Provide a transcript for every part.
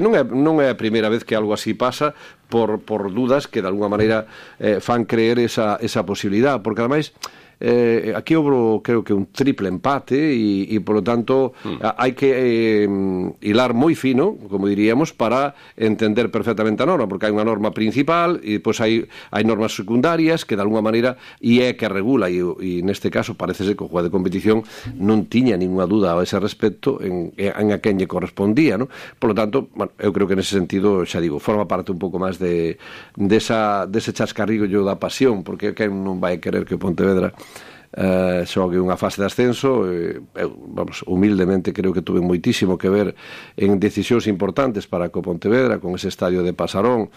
Non é a primeira vez que algo así pasa por dudas que de alguna maneira fan creer esa posibilidad, porque ademais aquí houve, creo que un triple empate e polo tanto hai que hilar moi fino, como diríamos, para entender perfectamente a norma, porque hai unha norma principal e depois hai normas secundarias que de alguna maneira é que regula e neste caso parece ser que o juez de competición non tiña ninguna duda a ese respecto en a quen lle correspondía, ¿no? Polo tanto, bueno, eu creo que nese sentido, xa digo, forma parte un pouco máis dese chascarrillo da pasión, porque quen non vai querer que o Pontevedra xogue unha fase de ascenso. Eu, vamos, humildemente creo que tuve moitísimo que ver en decisións importantes para co Pontevedra, con ese estadio de Pasarón,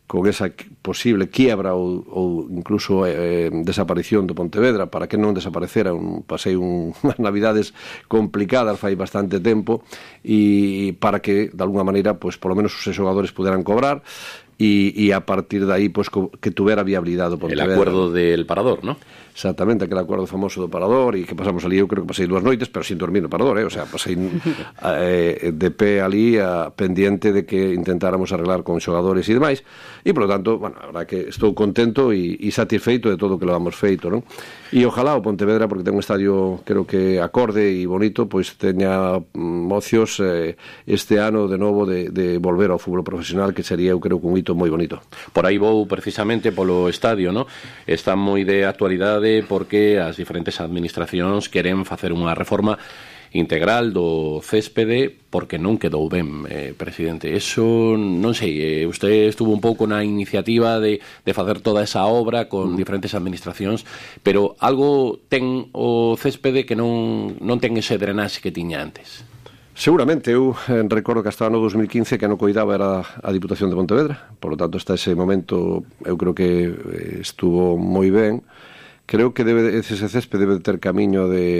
con esa posible quiebra ou incluso desaparición do Pontevedra, para que non desaparecera. Pasei unhas navidades complicadas fai bastante tempo, e para que de alguna maneira, pois, polo menos os xogadores puderan cobrar, e a partir de aí, pues, que tuvera viabilidade o Pontevedra. El acuerdo del Parador, ¿no? Exactamente, aquel acuerdo famoso do Parador, e que pasamos ali, eu creo que pasei 2 noites, pero sin dormir no Parador, o sea, pasei de pé ali pendiente de que intentáramos arreglar con xogadores e demais, e polo tanto, bueno, a verdad que estou contento e satisfeito de todo o que lo hemos feito, non? E ojalá o Pontevedra, porque ten un estadio, creo que acorde e bonito, pois teña ocios este ano de novo de volver ao fútbol profesional, que sería, eu creo, un hito moi bonito. Por aí vou precisamente polo estadio, ¿no? Está moi de actualidade porque as diferentes administracións queren facer unha reforma integral do céspede, porque non quedou ben, presidente. Eso, non sei, usted estuvo un pouco na iniciativa de facer toda esa obra con diferentes administracións, pero algo ten o céspede que non ten ese drenaxe que tiña antes. Seguramente, eu recordo que hasta o ano 2015 que non coidaba era a Diputación de Pontevedra, por lo tanto hasta ese momento eu creo que estuvo moi ben. Creo que ese céspede debe ter camiño de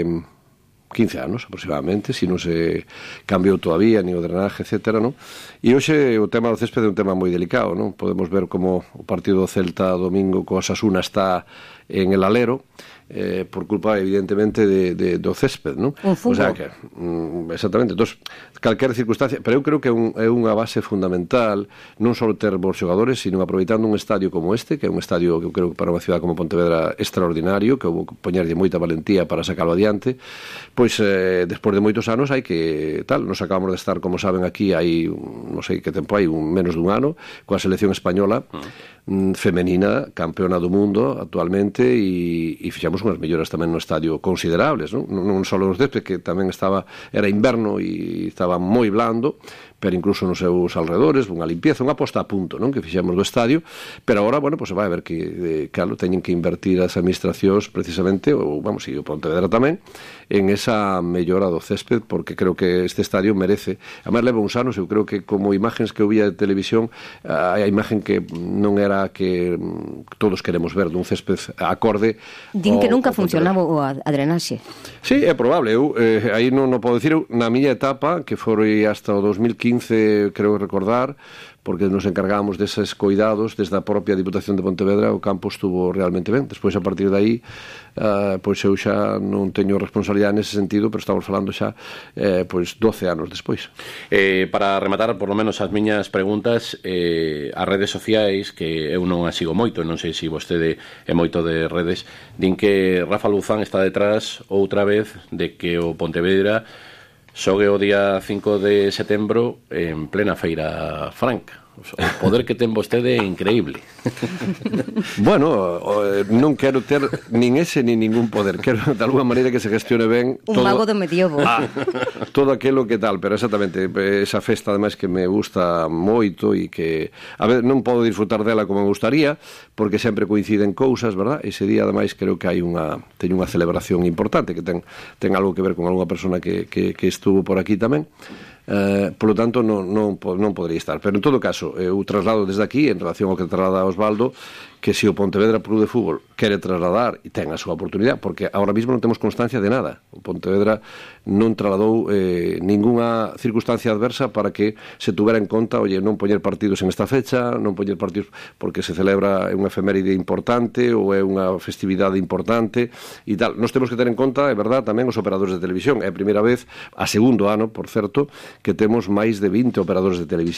15 anos aproximadamente, se non se cambiou todavía ni o drenaje, etcétera, non? E hoxe o tema do céspede é un tema moi delicado, non? Podemos ver como o partido do Celta domingo co Osasuna está en el alero, por culpa evidentemente do césped, non? Un fungo. O sea que, exactamente, entonces, calquera circunstancia, pero eu creo que é unha base fundamental non só ter bons xogadores, sino aproveitando un estadio como este, que é un estadio que eu creo que para unha ciudad como Pontevedra extraordinario, que houve que poñerlle moita valentía para sacarlo adiante, pois despois de moitos anos hai que tal, nos acabamos de estar, como saben, aquí hai non sei que tempo hai, menos dun ano, coa selección española femenina, campeona do mundo actualmente, e fixamos unhas melloras tamén no estadio considerables, non só os césped, que tamén era inverno e estaba moi blando, pero incluso nos seus alrededores, unha limpieza, unha posta a punto, non, que fixemos do estadio, pero agora, bueno, pues se vai a ver que, claro, teñen que invertir as administracións precisamente, ou, vamos, e o Pontevedra tamén, en esa mellora do césped, porque creo que este estadio merece. Además, leva uns anos, eu creo que como imagens que eu vía de televisión, a imagen que non era que todos queremos ver dun césped acorde. Din que nunca funcionaba a drenaxe. Sí, é probable. Eu aí non podo dicir. Na miña etapa, que foi hasta o 2015, creo recordar, porque nos encargábamos deses cuidados desde a propia Diputación de Pontevedra, o campo estuvo realmente ben. Despois, a partir de aí, pois eu xa non teño responsabilidade nese sentido, pero estamos falando xa pois 12 anos despois. Para rematar, por lo menos, as miñas preguntas, as redes sociais, que eu non as sigo moito, non sei se vostede é moito de redes, din que Rafa Luzán está detrás outra vez de que o Pontevedra xogue o día 5 de setembro en plena Feira Franca. O poder que ten vostede é increíble. Bueno, non quero ter nin ese nin ningún poder. Quero de alguna maneira que se gestione ben un mago do medievo. Todo aquilo que tal, pero exactamente esa festa ademais que me gusta moito e que a ver, non podo disfrutar dela como me gustaría, porque sempre coinciden cousas, verdad? Ese día ademais creo que teño unha celebración importante que ten algo que ver con algunha persona que estuvo por aquí tamén. Polo tanto non podría estar, pero en todo caso eu traslado desde aquí, en relación ao que traslada Osvaldo, que se o Pontevedra Club de Fútbol quere trasladar e ten a súa oportunidade, porque ahora mismo non temos constancia de nada. O Pontevedra non trasladou ningunha circunstancia adversa para que se tuvera en conta, oye, non poñer partidos en esta fecha, non poñer partidos porque se celebra unha efeméride importante ou é unha festividade importante e tal. Nos temos que ter en conta, é verdad, tamén os operadores de televisión. É a primeira vez, a segundo ano, por certo, que temos máis de 20 operadores de televisión